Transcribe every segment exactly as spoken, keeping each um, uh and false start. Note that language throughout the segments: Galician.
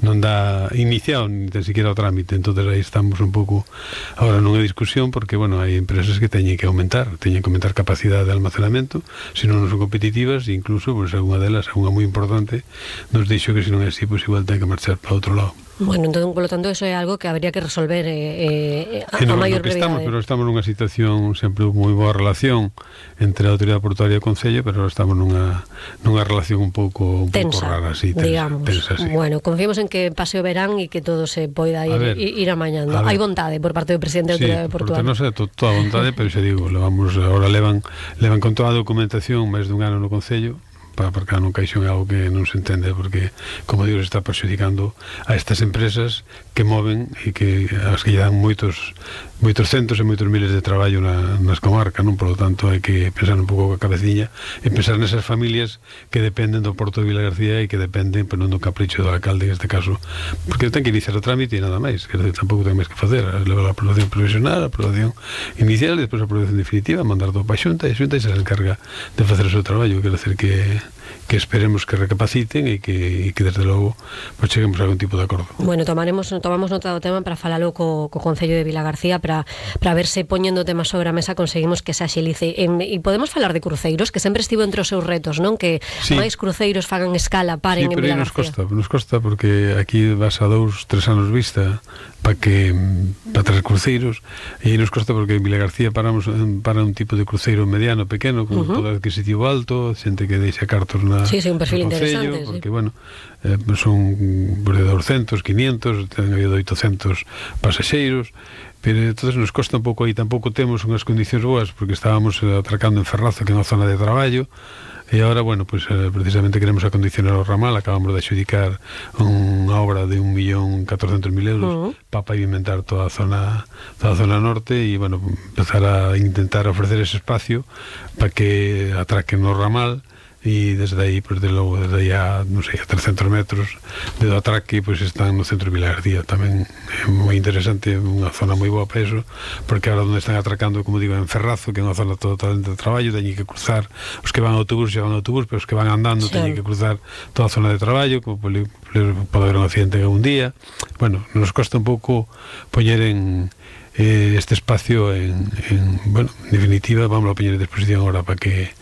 non dá iniciado ni tan siquiera o trámite. Entonces aí estamos un pouco agora nunha discusión, porque, bueno, hai empresas que teñen que aumentar, teñen que aumentar capacidade de almacenamento, se non son competitivas, e incluso, pues, alguna delas, alguna moi importante, nos dixo que se non é así, pues igual ten que marchar para outro lado. Bueno, entón, por lo tanto, eso é algo que habría que resolver eh, eh, a, sí, no, a maior brevidade. Estamos, pero estamos nunha situación sempre moi boa relación entre a autoridade portuaria e o Concello, pero estamos nunha nunha relación un pouco un tensa, pouco rara, así, tensa, digamos. Tensa, sí. Bueno, confiemos en que pase o verán e que todo se poida ir, ver, ir amañando. Hai vontade por parte do presidente da sí, autoridade portuaria. Sí, non sei, to, toda a vontade, pero xa digo, levamos, ahora levan levan con toda a documentación máis dun ano no Concello, para aparcar nun caixón é algo que non se entende, porque, como digo, se está perxudicando a estas empresas que moven e que as que lle dan moitos moitos centos e moitos miles de traballo na, nas comarcas, non? Por lo tanto, hai que pensar un pouco a cabeciña e pensar nesas familias que dependen do Porto de Vilagarcía e que dependen, pero non do capricho do alcalde en este caso, porque ten que iniciar o trámite e nada máis, que tampouco ten máis que facer, levar a aprobación provisional, a aprobación inicial e despois a aprobación definitiva, mandar todo para a Xunta, e a Xunta se encarga de facer o seu traballo. Quero decir que que esperemos que recapaciten e que, e que desde logo pues, cheguemos a algún tipo de acordo. Bueno, tomaremos tomamos nota do tema para falalo co, co Concello de Vilagarcía para, para ver se poñendo temas sobre a mesa conseguimos que se axilice. E, e podemos falar de cruceiros, que sempre estivo entre os seus retos, non? Que sí, máis cruceiros fagan escala, paren sí, en Vilagarcía. Nos costa, nos costa porque aquí vas a dous, tres anos vista para que para tres cruceiros, e nos costa porque en Vilagarcía paramos para un tipo de cruceiro mediano, pequeno, con uh -huh. poder adquisitivo alto, xente que deixa cartos na sí, sí, un perfil concello, interesante, porque, sí. bueno, eh, son de doscientos, quinientos, ten habido oitocentos pasaxeiros, pero entonces nos costa un pouco aí, tampouco temos unhas condicións boas, porque estábamos atracando en Ferrazo, que é unha zona de traballo, e agora, bueno, pues eh, precisamente queremos acondicionar o ramal, acabamos de adxudicar unha obra de un millón catorcentos mil euros uh -huh. para pavimentar toda a zona toda a zona norte e, bueno, empezar a intentar ofrecer ese espacio para que atraquen o ramal e desde aí, pues, de logo, desde aí a, non sei, a trescentos metros de do atraque, pois, pues, están no centro de Vilagarcía. Tamén é moi interesante, unha zona moi boa para eso, porque agora onde están atracando, como digo, en Ferrazo, que é unha zona totalmente de traballo, teñen que cruzar, os que van a autobús xa van a autobús, pero os que van andando sí. teñen que cruzar toda a zona de traballo, como pode haber un accidente un día. Bueno, nos costa un pouco poñer en eh, este espacio en, en, bueno, en definitiva, vamos a poñer en disposición agora para que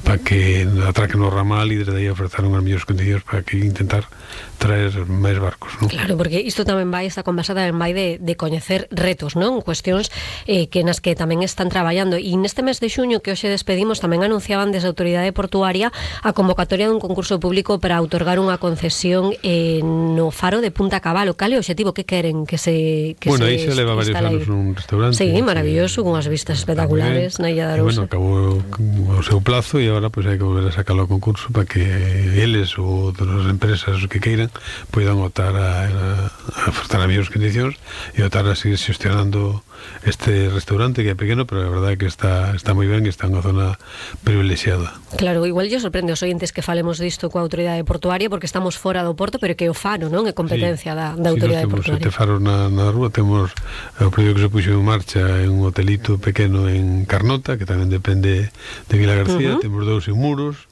para que atraquen o ramal e desde aí ofrecer unhas mellores condicións para que intentar traer máis barcos, non? Claro, porque isto tamén vai, esta conversa tamén vai de, de coñecer retos, non? Cuestións eh, que nas que tamén están traballando, e neste mes de xuño que hoxe despedimos tamén anunciaban desde a Autoridade Portuaria a convocatoria dun concurso público para outorgar unha concesión eh, no faro de Punta Cabalo. Cal é o objetivo que queren que se que bueno, se aí se leva varios anos nun restaurante. Sí, maravilloso, con as vistas espectaculares na Illa de Arousa. Bueno, acabou o seu plazo e agora pues hai que volver a sacarlo ao concurso para que eles ou outras empresas que queiran poidan optar a, a, a ofertar a mellores condicións e optar a seguir xestionando este restaurante que é pequeno, pero a verdade é que está, está moi ben, está en unha zona privilexiada. Claro, igual lle sorprende aos ointes que falemos disto coa Autoridade Portuaria porque estamos fora do Porto, pero que o faro, non? É competencia sí, da, da Autoridade sí, Portuaria. Temos sete faros na, na rúa, temos o proxecto que se puxo en marcha en un hotelito pequeno en Carnota, que tamén depende de Vilagarcía, uh -huh. temos dous en Muros,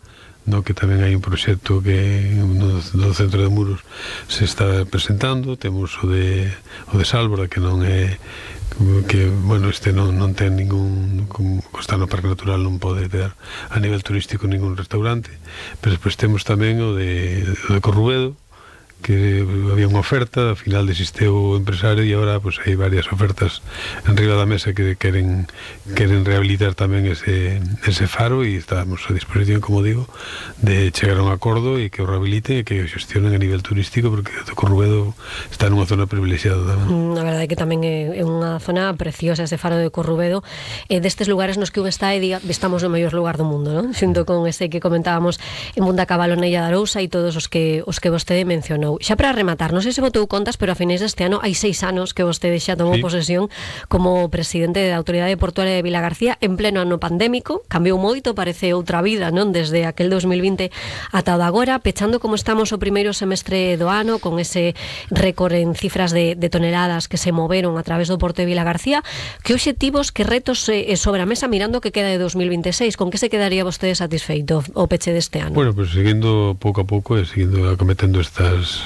no, que tamén hai un proxecto que no, no centro de Muros se está presentando, temos o de o de Sálvora, que non é que, bueno, este non, non ten ningún, como está no Parque Natural non pode ter a nivel turístico ningún restaurante, pero despois temos tamén o de, o de Corrubedo, que había unha oferta, ao final desisteu o empresario e agora pues, hai varias ofertas en riba da mesa que queren queren rehabilitar tamén ese, ese faro e estamos a disposición, como digo, de chegar a un acordo e que o rehabiliten e que o xestionen a nivel turístico, porque o Corrubedo está nunha zona privilexiada tamén. A verdade é que tamén é unha zona preciosa ese faro de Corrubedo, e destes lugares nos que un está e diga, estamos no mellor lugar do mundo, non? Xunto con ese que comentábamos en Punta Cabalo na Illa de Arousa e todos os que os que vostede mencionou. Xa para rematar, non sei se botou contas, pero a finais deste ano hai seis anos que vostede xa tomou sí. posesión como presidente da Autoridade Portuaria de Vilagarcía en pleno ano pandémico. Cambiou moito, parece outra vida, non? Desde aquel dos mil vinte ata o de agora, pechando como estamos o primeiro semestre do ano, con ese récord en cifras de, de toneladas que se moveron a través do Porto de Vilagarcía. Que obxectivos, que retos eh, sobre a mesa mirando que queda de dos mil vinte e seis? Con que se quedaría vostede satisfeito o peche deste ano? Bueno, pues seguindo pouco a pouco e seguindo acometendo estas